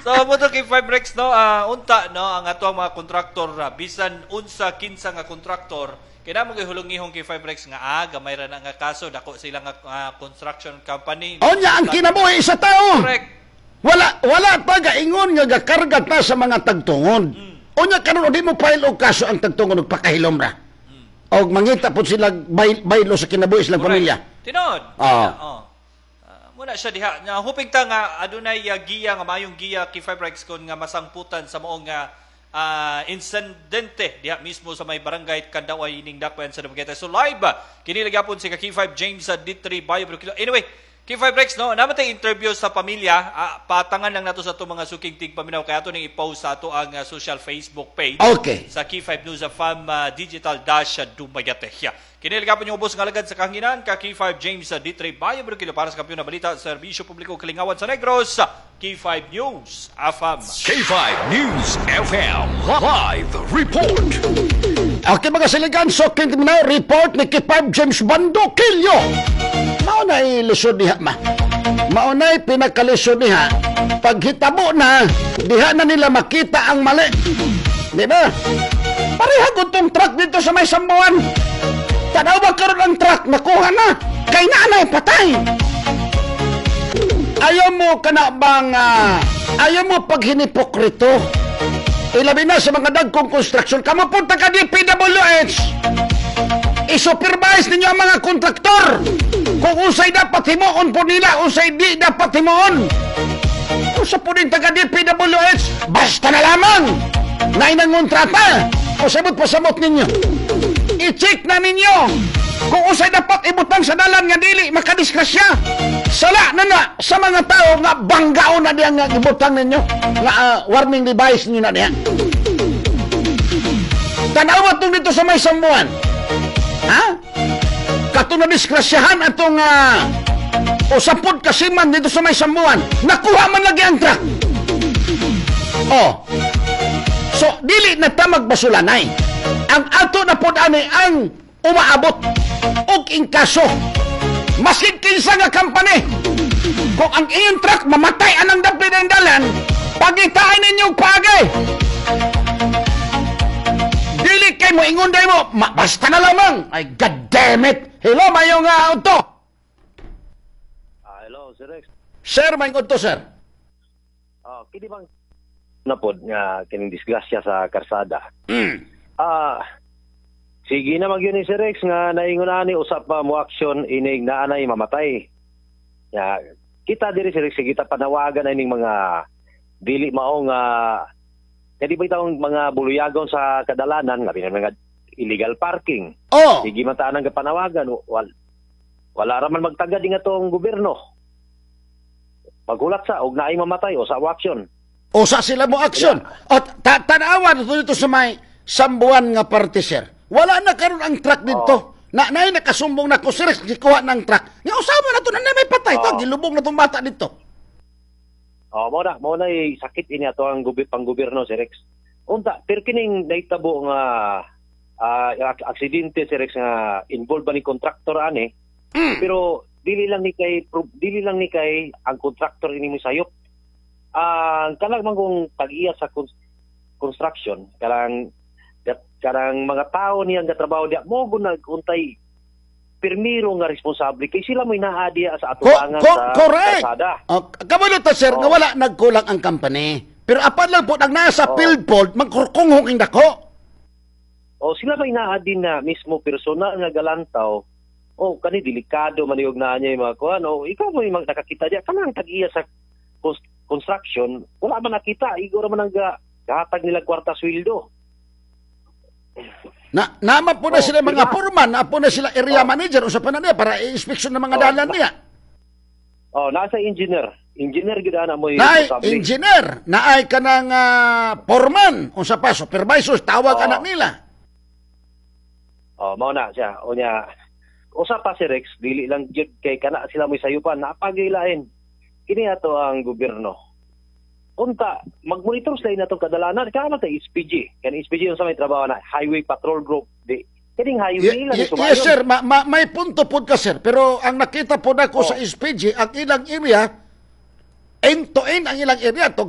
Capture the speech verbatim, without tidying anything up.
So mo to K five Rex, no, ah, unta no, ang ato ang mga kontraktor, ah, bisan unsa kinsa nga kontraktor kay na mo gihulong-ihong, K five Rex, nga ah, gamay ra na nga kaso, dako sila nga ah, construction company. Onya ang kinabuhi sa tao. Correct. Wala wala pa gaingon nga gakarga ta sa mga tagtungod. Unya karon di mo file og kaso ang tagtungod og pakahilom ra. Og mangita pud sila bay, baylo sa kinabuhi silang Correct. pamilya. Tinod. Ah. Oh. Ah, muna siya diha. Nga hoping ta nga adunay uh, giya nga mayong giya, K five Rex, kon nga masangputan sa maong nga ah, insidente diha mismo sa may barangay Kandaway ining Dakbayan sa Dumaguete. So live ah, kini gyapon si ka K five James sa D three Bayo Brukilo. Anyway, K five Rex, no, naman tay interview sa pamilya, ah, patangan lang nato sa ato mga suking tigpaminaw kaya ato ning i-post sa ato ang ah, social Facebook page Okay. sa K five News F M uh, Digital Dash uh, Dumaguete. Kini gyapon yung ubos nga alagad sa kahanginan ka K five James uh, D three Bayo Brukilo para sa Kampiyon na Balita, Serbisyo Publiko Kalingawan sa Negros, K five News F M. K five News F M Live Report. Okay, mga siligan, so na report ni K five James Bandokilyo. Mao na lisod diha, ma. Mao na pinakalisod diha. Paghitabo na, diha na nila makita ang mali. Di ba? Pareha gud tong truck dito sa may Sambuan. Tanaw ba karon ang truck, nakuha na. Kay naanay patay. Ayaw mo kana bang ah, ayaw mo pag hinipokrito. Ilabi na sa mga dagkong construction. Kamo punta ka D P W H. I-supervise ninyo ang mga kontraktor. Kung unsay dapat himuon po nila, unsay di dapat himuon. Usa po din taga D P W H, basta na lamang na inang kontrata. O sabot pasamot ninyo. I-check na ninyo kung unsay dapat ibutang sa dalan nga dili makadisgrasya. Sala na na sa mga tao nga banggaon na diyan nga ibutang ninyo nga ah, warning device ninyo na diyan. Tanawa tong dito sa may Sambuan. Ha? Kato na disgrasyahan atong uh, usapod kasiman dito sa may Sambuan. Nakuha man lagi ang truck. Oh. So, dili na ta magbasulanay. Ang ato na pod ani ang umaabot og inkaso. Maski kinsa nga company. Kung ang iyong truck mamatay anang dapit ng dalan, pagitain ninyong pagay. Dili kay mo ingon day mo, ma, basta na lamang. Ay, God damn it. Hello, mayong uh, udto. Ah, hello, Sir Rex. Sir, mayong udto, sir. Ah, kini bang na pod nga kining disgrasya sa karsada. Mm. Ah, sige na magyun ni Sir Rex nga naingon ani usap pa mo aksyon inig naanay mamatay. Ya, kita diri, Sir Rex, sige ta panawagan na ining mga dili mao nga kadi ba itong mga buluyagon sa kadalanan, labi na mga illegal parking. Oh, Sige man ta nang panawagan, wal, wala ra man magtagad nga tong gobyerno. Paghulat sa og naay mamatay o sa aksyon. Usa sila mo aksyon. O ta tanawa dito dito sa may Sambuan nga parte, sir. Wala na karon ang truck dito. Na nay nakasumbong na ko, sir, gikuha ng truck. Nga usama na to na may patay to, Oh. gilubong na tong bata dito. Oh, mo na, mo na sakit ini ato ang gubi panggobyerno, Sir Rex. Unta, pero kining nahitabo nga ah, ak- aksidente, Sir Rex, nga involved ba ni kontraktor ani? Mm. Pero dili lang ni kay pro- dili lang ni kay ang kontraktor ini mo sayop. Ang kanang man kung tag-iya sa cons- construction, karang karang mga tao niyang gatrabaho diya mo gud untay pirmiro nga responsable kay sila mo'y naa diya sa Ko- atubangan ko- sa correct. kalsada. Oh, kabalo ta, sir, nga Oh. wala nagkulang ang company. Pero apan lang po, ang nasa Oh. field fault, magkurkunghong ing dako. O sila may naa din na mismo personal nga galantaw o kani delikado man yung naa niya yung mga kuan o ikaw mo yung mga nakakita diya kanang tag-iya sa cons- construction, wala man nakita, igor man ang ga, gahatag nila kwarta sweldo. Na nama po na Oh, sila mga diba? foreman, na po na sila area Oh. manager, usa pa na niya para i-inspection ng mga Oh, dalan niya. O nasa engineer engineer gyud ana mo Naay responsable. Engineer, naay kanang uh, foreman, unsa pa supervisors tawag Oh. anak nila. O mao na siya. O nya usa pa si Rex, dili lang gyud kay kana sila mo'y sayupan, napagilain kini ato ang gobyerno. Unta magmonitor sila na atong kadalanan kaya man tay S P G, kani S P G yung sa may trabaho na Highway Patrol Group, di kining highway Ye- lang ye- sumayon. Yes sir, ma- ma- may punto po ka, sir, pero ang nakita po nako Oh. sa S P G, ang ilang area end to end ang ilang area to.